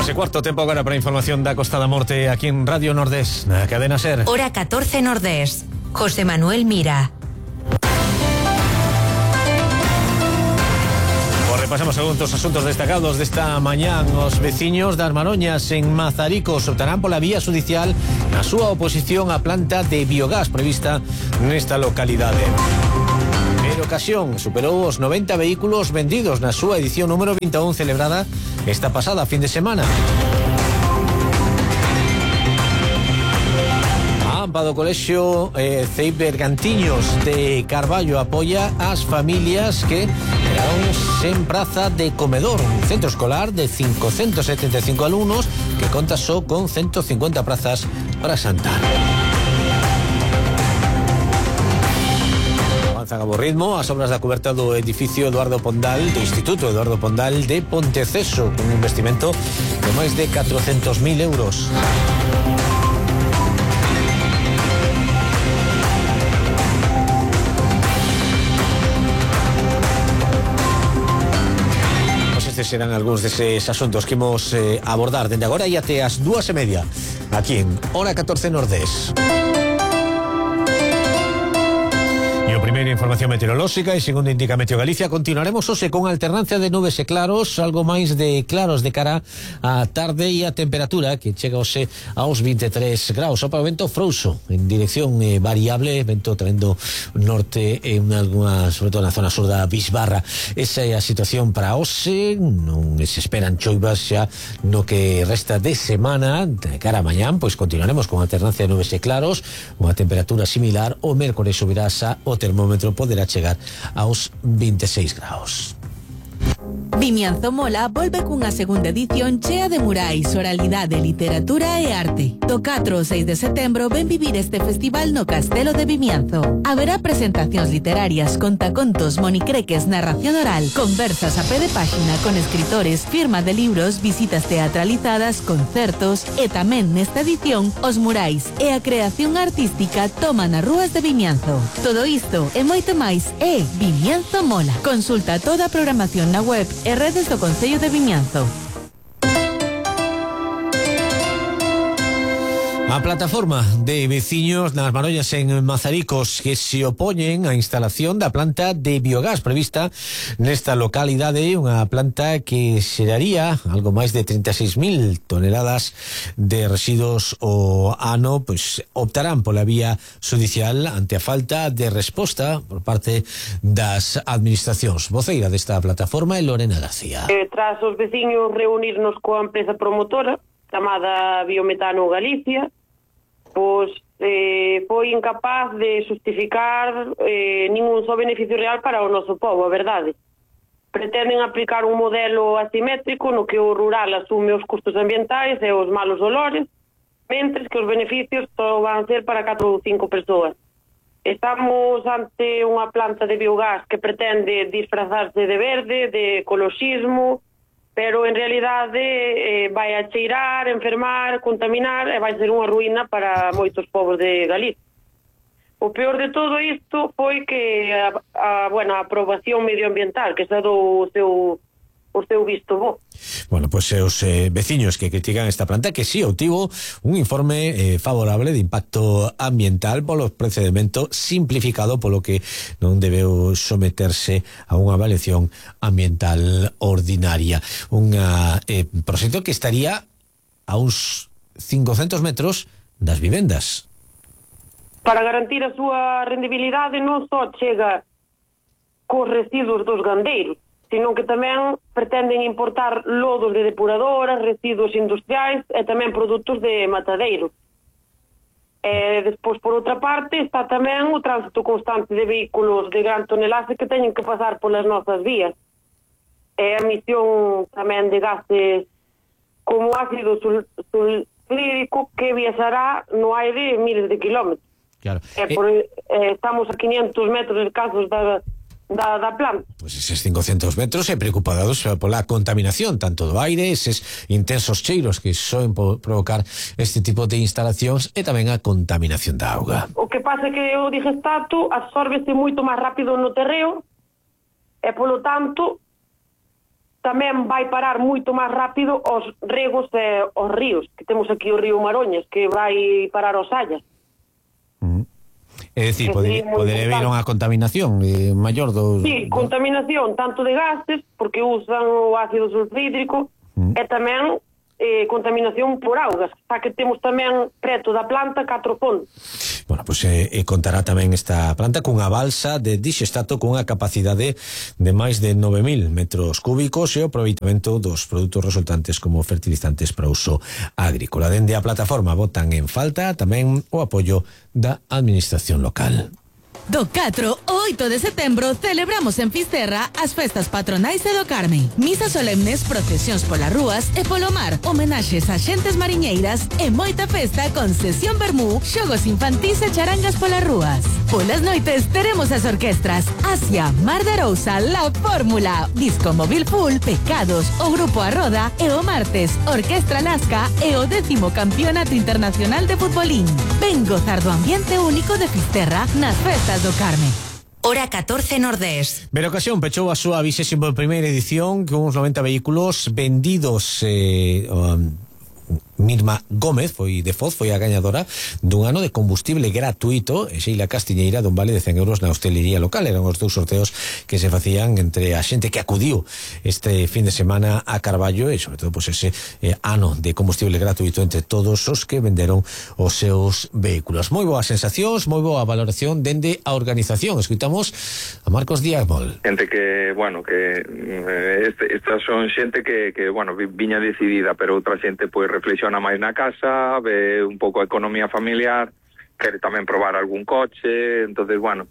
3:15, tempo agora para a información da Costa da Morte aquí en Radio Nordés, na cadena SER. Hora 14 Nordés. José Manuel Mira. Pasamos a algunos asuntos destacados desta mañán. Os veciños das Maroñas en Mazaricos optarán pola vía judicial na súa oposición á planta de biogás prevista nesta localidade. Pero ocasión superou os 90 vehículos vendidos na súa edición número 21 celebrada esta pasada fin de semana. Do Colexio CEIP Bergantiños de Carballo apoia as familias que quedaron sen praza de comedor. Un centro escolar de 575 alumnos que conta só con 150 prazas para Santar. Avanzan a bo ritmo as obras da coberta do edificio Eduardo Pondal, do Instituto Eduardo Pondal de Ponteceso, con un investimento de máis de 400.000 euros. Estes serán algúns deses asuntos que imos abordar dende agora e até as 2:30 aquí en Hora 14 Nordés. Primeira información meteorolóxica e segundo indica Meteo Galicia, continuaremos hoxe con alternancia de nubes e claros, algo máis de claros de cara á tarde e a temperatura que chega hoxe aos 23 graus. Opa, o vento frouxo en dirección variable, vento trendo norte en alguna, sobre todo na zona sur da Bisbarra. Esa é a situación para hoxe, non se esperan choivas xa no que resta de semana. De cara a mañán, pois continuaremos con alternancia de nubes e claros, unha temperatura similar. O mércores subirá o termómetro poderá chegar aos 26 graus. Vimianzo Mola volve cunha segunda edición chea de murais, oralidade, literatura e arte. Do 4 ao 6 de setembro ven vivir este festival no Castelo de Vimianzo. Haberá presentacións literarias, contacontos, monicreques, narración oral, conversas a pé de páxina con escritores, firma de libros, visitas teatralizadas, concertos e tamén nesta edición os murais e a creación artística toman as rúas de Vimianzo. Todo isto e moito máis é Vimianzo Mola. Consulta toda a programación na web e redes do Concello de Vimianzo. A plataforma de veciños nas Maroñas en Mazaricos que se opoñen á instalación da planta de biogás prevista nesta localidade, unha planta que xeraría algo máis de 36.000 toneladas de residuos ao ano, pois optarán pola vía judicial ante a falta de resposta por parte das administracións. Voceira desta plataforma é Lorena García. Tras os veciños reunirnos coa empresa promotora chamada Biometano Galicia, pois foi incapaz de justificar ningún só beneficio real para o noso povo, a verdade. Pretenden aplicar un modelo asimétrico no que o rural asume os custos ambientais e os malos olores, mentres que os beneficios só van ser para 4 ou 5 persoas. Estamos ante unha planta de biogás que pretende disfrazarse de verde, de ecoloxismo, pero en realidade vai a cheirar, enfermar, contaminar e vai ser unha ruína para moitos povos de Galicia. O peor de todo isto foi que a aprobación medioambiental que se dou o seu visto bo. Bueno, pois os veciños que critican esta planta que si obtivo un informe favorable de impacto ambiental polo procedimento simplificado, polo que non debeu someterse a unha avaliación ambiental ordinaria. Un proxecto que estaría a uns 500 metros das vivendas. Para garantir a súa rendibilidade non só chega cos residuos dos gandeiros, sino que tamén pretenden importar lodos de depuradoras, residuos industriais e tamén produtos de matadeiro. Despois, por outra parte, está tamén o tránsito constante de vehículos de gran tonelaje que teñen que pasar polas nosas vías. A emisión tamén de gases como ácido sulfúrico que viaxará no aire miles de kilómetros. Claro. Estamos a 500 metros escasos da planta. Pois eses 500 metros preocupados pola contaminación tanto do aire, eses intensos cheiros que soen provocar este tipo de instalacións e tamén a contaminación da auga. O que pasa é que o digestato absórbese moito máis rápido no terreo e polo tanto tamén vai parar moito máis rápido aos regos e aos ríos, que temos aquí o río Maroñas, que vai parar aos Sallas. É dicir, podería haber unha contaminación maior do... Sí, contaminación tanto de gases, porque usan o ácido sulfídrico, e tamén contaminación por augas, xa que temos tamén preto da planta 4 fontes. Bueno, pois contará tamén esta planta cunha balsa de dixestato cunha capacidade de máis de 9.000 metros cúbicos e o aproveitamento dos produtos resultantes como fertilizantes para uso agrícola. Dende a plataforma botan en falta tamén o apoio da administración local. Do 4 ao 8 de setembro celebramos en Fisterra as festas patronais e do Carme. Misas solemnes, procesións polas rúas e polo mar, homenaxes a xentes mariñeiras e moita festa con sesión vermú, xogos infantís e charangas polas rúas. Polas noites teremos as orquestras Asia, Mar de Arousa, La Fórmula, Disco Móvil Full, Pecados, o Grupo A Roda e o martes Orquestra Nazca e o 10º Campeonato Internacional de Futbolín. Ven gozar do ambiente único de Fisterra nas festas do Carme. Hora 14 Nordés. Verocasión pechou a súa 21ª edición con uns 90 vehículos vendidos. Mirma Gómez foi de Foz, foi a gañadora dun ano de combustible gratuito, e Sheila Castiñeira dun vale de 100 euros na hostelería local. Eran os dous sorteos que se facían entre a xente que acudiu este fin de semana a Carballo, e sobre todo pues ese ano de combustible gratuito entre todos os que venderon os seus vehículos. Moi boas sensacións, moi boa valoración dende a organización. Escuitamos a Marcos Díaz Mol. Gente que, bueno, que estas son xente que bueno, viña decidida, pero outra xente pois reflexiona máis na casa, ve un pouco a economía familiar, quere tamén probar algún coche. Entonces, bueno,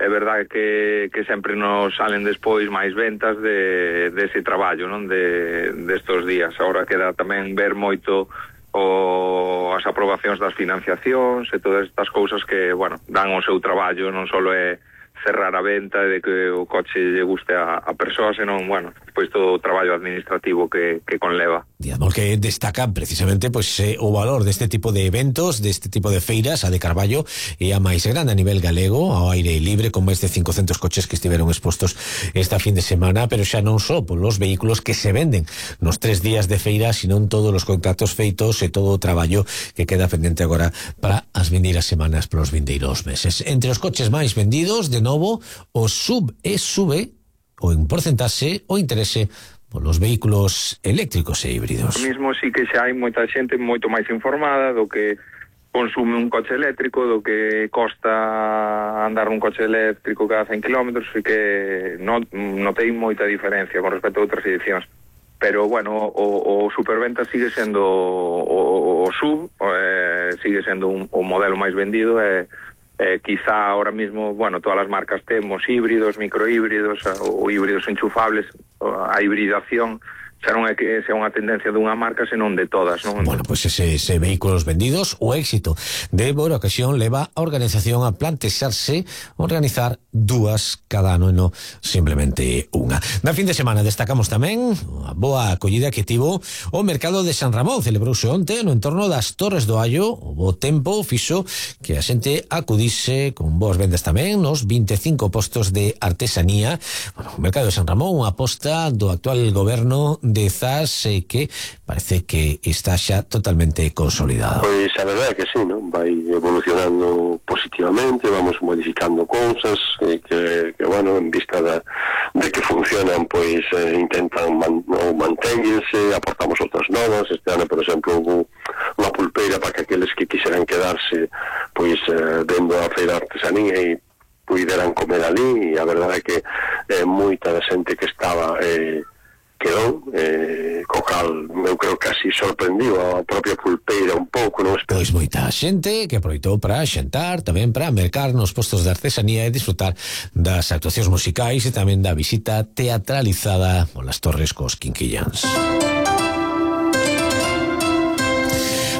é verdade que sempre nos salen despois máis ventas dese traballo, non, destos días. Agora queda tamén ver moito as aprobacións das financiacións e todas estas cousas que, bueno, dan o seu traballo, non só é cerrar a venta de que o coche lle guste a persoa, senón, bueno, pois todo o traballo administrativo que conleva. Digamos que destaca precisamente pois o valor deste tipo de eventos, deste tipo de feiras. A de Carballo é a máis grande a nivel galego, ao aire libre, con máis de 500 coches que estiveron expostos esta fin de semana, pero xa non só polos vehículos que se venden nos 3 días de feira, senón todos os contactos feitos e todo o traballo que queda pendente agora para as vindeiras semanas, para os vindeiros meses. Entre os coches máis vendidos, de novo, o sub e sube o en porcentaxe o interese polos vehículos eléctricos e híbridos. Mesmo sí que xa hai moita xente moito máis informada do que consume un coche eléctrico, do que costa andar un coche eléctrico cada 100 km, e que non ten moita diferencia con respecto a outras edicións. Pero, bueno, o superventa sigue sendo o sub, sigue sendo o modelo máis vendido, quizá ahora mismo, bueno, todas as marcas temos híbridos, microhíbridos ou híbridos enchufables. A hibridación xa non é que sea unha tendencia dunha marca, senón de todas, non? Bueno, pois ese vehículos vendidos, o éxito de Verocasión leva a organización a plantexarse organizar 2 cada ano e non simplemente unha. Na fin de semana destacamos tamén a boa acollida que tivo o mercado de San Ramón. Celebrouse onte no entorno das Torres do Allo. O bo tempo fixo que a xente acudise con boas vendas tamén nos 25 postos de artesanía. Bueno, o mercado de San Ramón, unha aposta do actual goberno de Zas, que parece que está xa totalmente consolidado. Pois a verdade é que sí, non? Vai evolucionando positivamente, vamos modificando cousas que bueno, en vista de que funcionan, pois intentan manténganse, aportamos outras novas. Este ano, por exemplo, hubo unha pulpeira para que aqueles que quixeran quedarse pois vendo a feira de artesanía e puderan comer ali, e a verdade é que moita da xente que estaba quedou, co cal eu creo que así sorprendiu a propia pulpeira un pouco, non? Pois moita xente que aproveitou para xantar, tamén para mercar nos postos de artesanía e disfrutar das actuacións musicais e tamén da visita teatralizada polas Torres cos Quinquillans.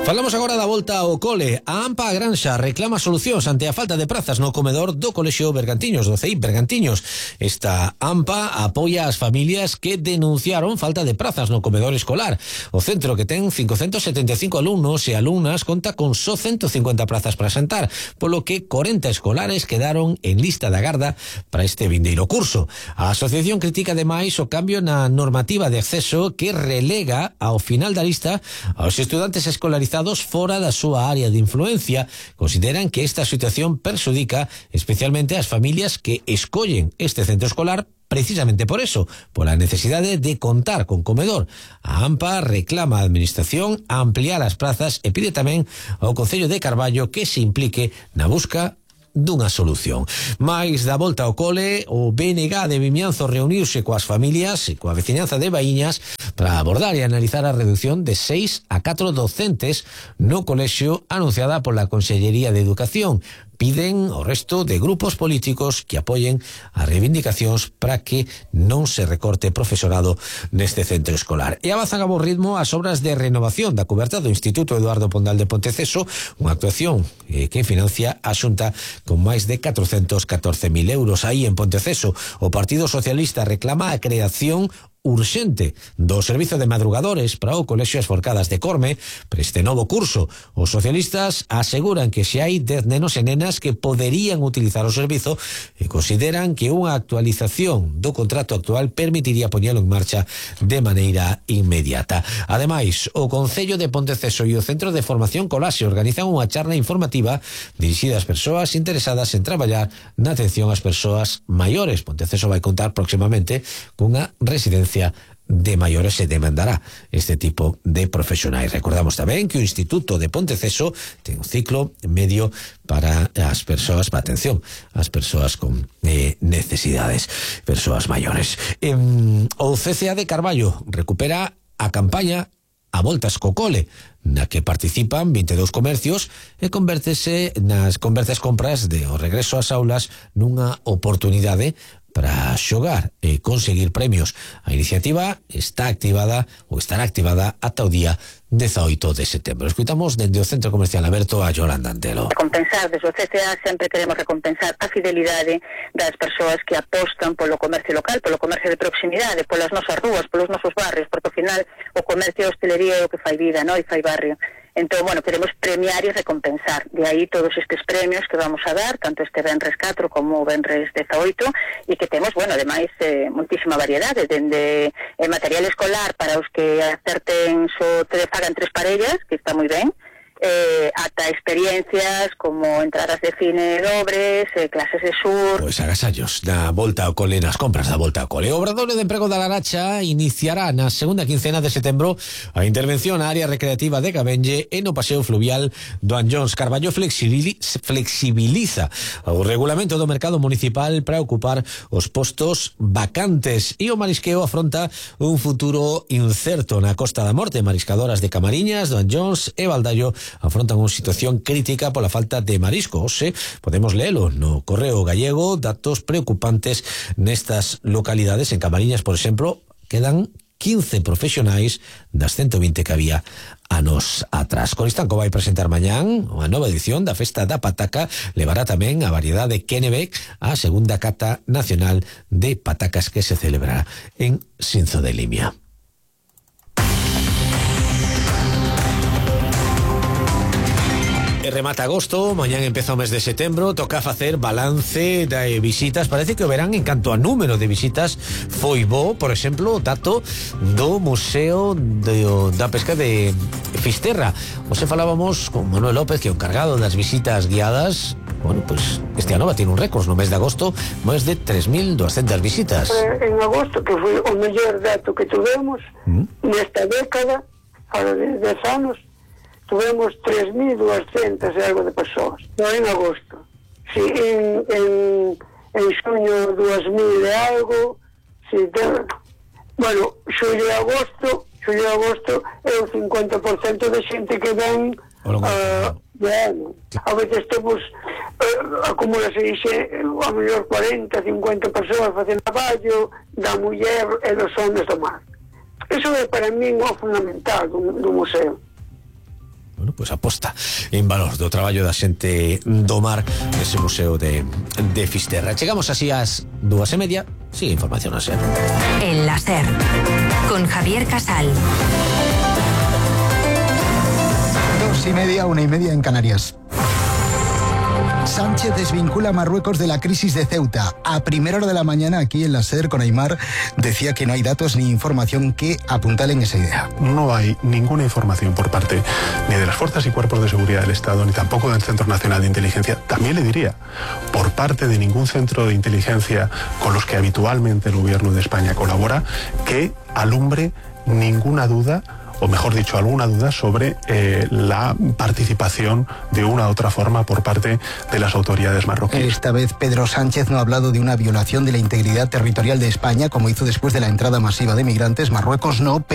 Falamos agora da volta ao cole. A AMPA Granxa reclama solucións ante a falta de prazas no comedor do Colexio Bergantiños, do CEIP Bergantiños. Esta AMPA apoia as familias que denunciaron falta de prazas no comedor escolar. O centro, que ten 575 alumnos e alumnas, conta con só 150 plazas para sentar, polo que 40 escolares quedaron en lista de agarda para este vindeiro curso. A asociación critica ademais o cambio na normativa de acceso que relega ao final da lista aos estudantes escolarizados fora da súa área de influencia. Consideran que esta situación perxudica especialmente as familias que escollen este centro escolar precisamente por eso, pola necesidade de contar con comedor. A AMPA reclama á Administración ampliar as plazas e pide tamén ao Concello de Carballo que se implique na busca dunha solución. Mais da volta ao cole, o BNG de Vimianzo reuniuse coas familias e coa veciñanza de Baíñas para abordar e analizar a reducción de 6 a 4 docentes no colexio anunciada pola Consellería de Educación. Piden ao resto de grupos políticos que apoyen as reivindicacións para que non se recorte profesorado neste centro escolar. E avanzan a bo ritmo as obras de renovación da coberta do Instituto Eduardo Pondal de Ponteceso, unha actuación que financia a Xunta con máis de 414.000 euros. Aí en Ponteceso, o Partido Socialista reclama a creación urxente do servizo de madrugadores para o Colexio As Forcadas de Corme para este novo curso. Os socialistas aseguran que se hai 10 nenos e nenas que poderían utilizar o servizo e consideran que unha actualización do contrato actual permitiría poñelo en marcha de maneira inmediata. Ademais, o Concello de Ponteceso e o Centro de Formación Colaxe organizan unha charla informativa dirixida ás persoas interesadas en traballar na atención ás persoas maiores. Ponteceso vai contar próximamente cunha residencia de maiores e demandará este tipo de profesionais. Recordamos tamén que o Instituto de Ponteceso ten un ciclo medio para as persoas, para atención ás persoas con necesidades, persoas maiores. O CCA de Carballo recupera a campaña A Voltas co Cole, na que participan 22 comercios e converte as compras de o regreso ás aulas nunha oportunidade para xogar e conseguir premios. A iniciativa está activada ou estará activada ata o día 18 de setembro. Escuitamos dende o Centro Comercial Aberto a Yolanda Antelo. Recompensar, desde o CCA sempre queremos recompensar a fidelidade das persoas que apostan polo comercio local, polo comercio de proximidade, polas nosas rúas, polos nosos barrios, porque ao final o comercio e a hostelería é o que fai vida, non? E fai barrio. Entón, bueno, queremos premiar e recompensar. De aí todos estes premios que vamos a dar, tanto este Venres 4 como o Venres 18, e que temos, bueno, ademais, moitísima variedade, dende material escolar para os que acerten fagan 3 parellas, que está moi ben, ata experiencias como entradas de cine dobres, clases de sur. Pois agasallos da volta ao cole, nas compras da volta ao cole. O Obradoiro de Emprego da Laracha iniciará na segunda quincena de setembro a intervención na área recreativa de Gabenlle e no paseo fluvial do Anllóns. Carballo flexibiliza o regulamento do mercado municipal para ocupar os postos vacantes e o marisqueo afronta un futuro incerto na Costa da Morte. Mariscadoras de Camariñas, do Anllóns e Baldallo afrontan unha situación crítica pola falta de marisco. Ose, podemos lelo no Correo Gallego, datos preocupantes nestas localidades. En Camariñas, por exemplo, quedan 15 profesionais das 120 que había anos atrás. Coristanco vai presentar mañán unha nova edición da Festa da Pataca. Levará tamén a variedade Kennebec a segunda cata nacional de patacas que se celebrará en Sinzo de Limia. Remata agosto, mañán empeza o mes de setembro, toca facer balance de visitas. Parece que o verán en canto a número de visitas foi bo. Por exemplo, o dato do Museo da Pesca de Fisterra. Hoxe falábamos con Manuel López, que é o encargado das visitas guiadas. Bueno, pues este ano va ter un récord no mes de agosto, máis de 3.200 visitas. En agosto, que foi o mellor dato que tuvemos nesta década, fora de 10 anos, tuvemos 3.200 e algo de persoas. No, en agosto. Si, en xuño 2.000 e algo, si, bueno, xullo e agosto é o 50% de xente que ven de ano. A veces temos acumulase a mellor 40, 50 persoas facendo traballo da muller e dos homens do mar. Eso é para min o fundamental do museo. bueno, pues aposta en valor do traballo da xente do mar nese museo de Fisterra. Chegamos así ás 2:30. Sigue información a SER. En la SER, con Javier Casal. 2:30, 1:30 en Canarias. Sánchez desvincula a Marruecos de la crisis de Ceuta. A primera hora de la mañana, aquí en la SER, con Aymar, decía que no hay datos ni información que apuntalen esa idea. No hay ninguna información por parte ni de las fuerzas y cuerpos de seguridad del Estado, ni tampoco del Centro Nacional de Inteligencia. También le diría, por parte de ningún centro de inteligencia con los que habitualmente el gobierno de España colabora, que alumbre ninguna duda, o mejor dicho, alguna duda sobre la participación de una u otra forma por parte de las autoridades marroquíes. Esta vez Pedro Sánchez no ha hablado de una violación de la integridad territorial de España, como hizo después de la entrada masiva de migrantes. Marruecos no,